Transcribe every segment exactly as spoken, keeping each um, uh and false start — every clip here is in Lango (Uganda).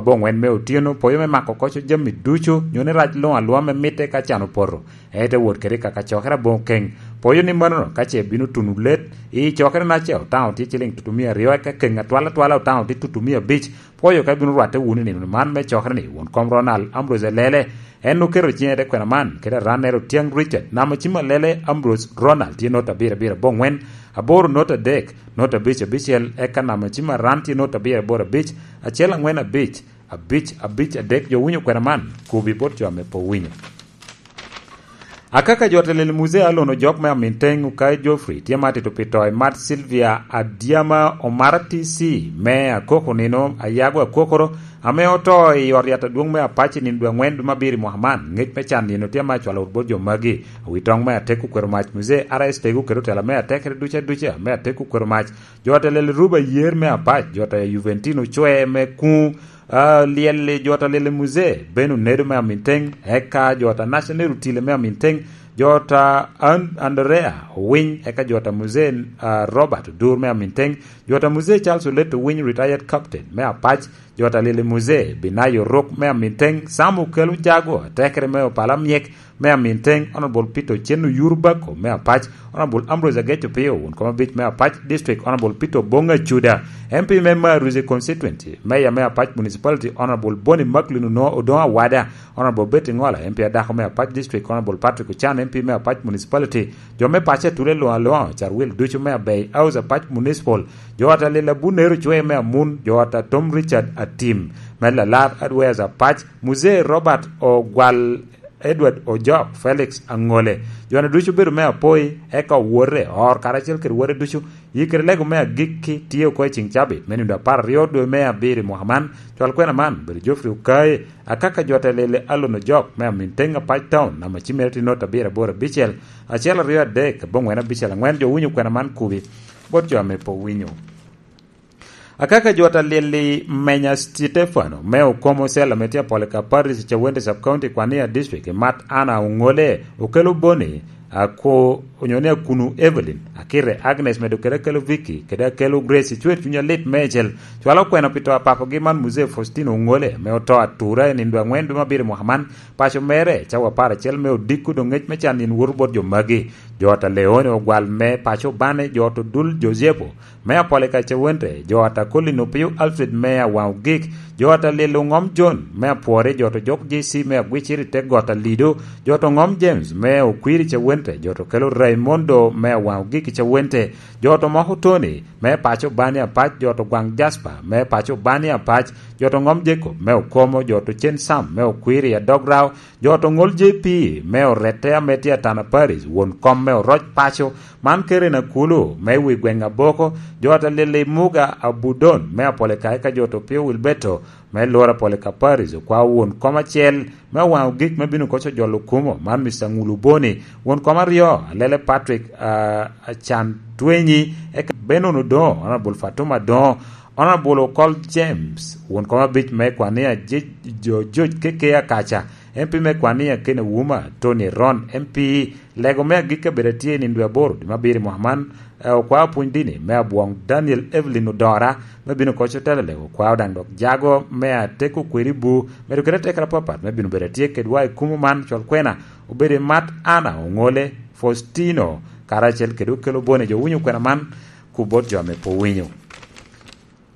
Aboŋwen me otyeno, poyo me mako koco jami ducu, nyo ni rac luŋ alua me mitte ka can opoto, en te wot kede kaka cokere aboŋ keŋ. Poyo ni manono ka ce bino tuno let, i cokere na ce otaŋo tye ciliŋ tutumia aryo, eka keŋ atwal atwala otaŋo tye tutumia abic, poyo ka bino rwatte wunu i nino man me cokere ni, won kom Ronald Ambrose Elele, en oketo ciŋe te kwena man, kede arannere Otyang Richard, namo cim Alele Ambrose Ronald tye not abiro abiro aboŋwen, aboro not adek, not abic abicel, eka namo cim aran tye not abiro aboro abic, acel angwen abic, abic, abic, adek. Jo winyo kwena man, kubi bot jo ame pe owinyo. Akaka jo telel Muzee Alon Ojok me Aminteng, Okai Geoffrey, tye ma tito pi to i mat Sylvia Adyama Omara T C me Akoko nino, Ayago Akokoro, ame oto i ot yat adwoŋ me Apac i nino dwe angwen dwe me abiro i mwaka man. Ngec me can nino tye ma acwalo wot bot jo magi. Wi toŋ me atek okwero mac, Muzee R S Tego kede otela me atekere duca duca me atek okwero mac. Jo ata lel Ruba Yer me Apac, jo ata Juventino Cwe me Kuŋ, ah, lyel, jo ata lel Muzee Ben Onedo me Aminteng, eka jo ata National Rutile me Aminteng, jo ata An-, Andrea Owiny, eka jo ata Muzee, ah, Robert Odur me Aminteng, jo ata Muzee Charles Olet Owiny, retired captain me Apac, jo ata lel Muzee Binayo Ruk me Aminteng, Sam Okelo Jago, atekere me Opala Myek, me Aminteng, Honorable Peter Ochen Oyur Bako me Apac, Honorable Ambrose Ageco Pio, won kom abic me Apac District, Honorable Peter Obonga Chuda, M P me Maruzi Constituency, Mayor me Apac Municipality, Honorable Boni Macklin Ono-, Odongo Awada, Honorable Betty Ngola, M P adako me Apac District, Honorable Patrick Ochan, M P me Apac Municipality, jo me paco atule luŋ aluŋa, Carwil ducu me Abei House Apac Municipal, jo ata Lila Bunero Cwe me Amun, jo ata Tom Richard Atim, me Lalar Adwez Apac, Muzee Robert Ogwal, Edward Ojok, Felix Aŋole, jo-nu ducu obedo me apoi, eka owote, oro karacel kede wote ducu, yikere lego me agikki tye oko i ciŋ cabit me nino apar aryo dwe me abiro i mwaka man, cwal kwena man, bedo Geoffrey Okaye, akaka jo ata lele Alon Ojok me Aminteng Apac Town, namba cimere tye not abiro aboro abicel, acel aryo adek, aboŋwen abicel aŋwen, jo winyo kwena man kubi, bot jo ame pe owinyo. Akaka jo ata lili Menya Stefano, me Okomo Cell, ame tye Apolika Parish, Cawente Sub County, Kwania District, i mat Anna Oŋole, Okelo Boni, Ako-, onyo ni Akunu Evelyn, Akite Agnes, medo kede Akelo Vicky, kede Akelo Grace, icwer cuny alit meicel, cwalo kwena pi to a papogi man Muzee Faustino Oŋole, ame oto atura i nino dwe aŋwen dwe me abiro i mwaka man, paco mere, cawa apar acel me odiko doŋ ngec me can nino woto bot jo magi, jo ata Leone Ogwal me paco Bane, jo ata Odul Josepo, me Apolika Cawente, jo ata Colin Opio Alfred me Awaŋ Ogik, jo ata Lilo Ŋom John me Apwori, jo ata Jok J C me Agwicir i te got Alido, jo ata Ŋom James me Okwiri Cawente, jo ata Okelo Raimondo me Awaŋ Ogik i Cawente, jo ata Moko Tony me paco Bani Apac, jo ata Gwaŋ Jasper me paco Bani Apac, jo ata Ŋom Jacob me Okomo, jo ata Ocen Sam me Okwiri i Adog Rao, jo ata Oŋol J P me Orette ame tye Atana Parish, won kom me Oroc Paco, man Keren Akulu me wi gweŋ Aboko, jo ata Lili Muga Abudon me Apolika, eka jo ata Opio Wilberto me Lora Apolika Parish, okwa won kom acel me Awaŋ Ogik me bino koco jolo kumo, man Mister Ŋulu Boni, won kom aryo, Alele Patrick, ah, Acan Twenyi, eka Benon Odongo, Honorable Fatuma Odongo, Honorable Okol James, won kom abic me Kwania Je-, Jo-, George Keke Akaca, M P me Kwania Ken Ouma, Tony Ron, M P, lego me agikki abedo atye i nino dwe aboro dwe me abiro i mwaka man, eh, okwa opwony dini me Abwoŋ Daniel Evelyn Odora, me bino koco telo lego okwa daŋ dok jago me ateko kweri bu, medo kede atekere apapat me bino bedo atye kedwa i kumo man, cwal kwena obedo i mat Anna Oŋole, Faustino, karacel kede Okelo Boni, jo winyo kwena man, ku bot jo ame pe owinyo.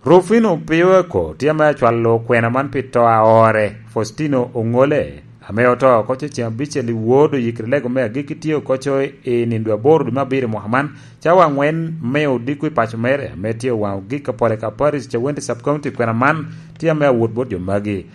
Rufino Piweko tye ame acwalo kwena man pi to a ore, Faustino Oŋole, ame oto oko ce ceŋ abicel i wor oyikere lego me agikki tye oko co i nino dwe aboro dwe me abiro i mwaka man, cawa angwen me odiko i paco mere, ame tye Owaŋ Ogik Apolika Parish, Cawente Sub County. Kwena man tye ame awot bot jo magi.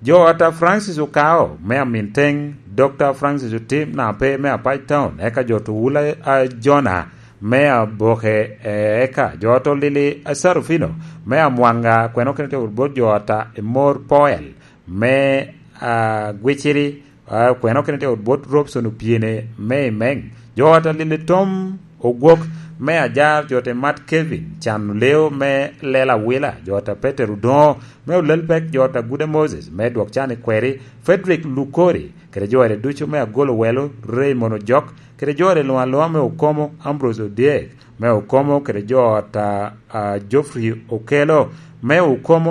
Jo ata Francis Okao me Aminteng, Doctor Francis Otim Nape me Apac Town, eka jo ata Wula, a, Jona me Aboke, e, eka jo ata Lili Asarufino me Amwanga, kwena okene tye wot bot jo ata Emor Poel me, a, Gwiciri, a, kwena okene tye wot bot Robson Opiene me Imeng, jo ata Lili Tom Ogwok me Ajar, jo ata Mat Kevin Can Oleo me Lela Wila, jo ata Peter Odongo me Olelpek, jo ata Guda Moses me Dwok Can i Kweri, Frederick Lukori, kede jo ata ducu me Agolo Welo, Raymond Ojok, kede jo ata luŋ aluŋa me Okomo, Ambrose Odyek me Okomo, kede jo ata, a, Geoffrey Okelo me Okomo,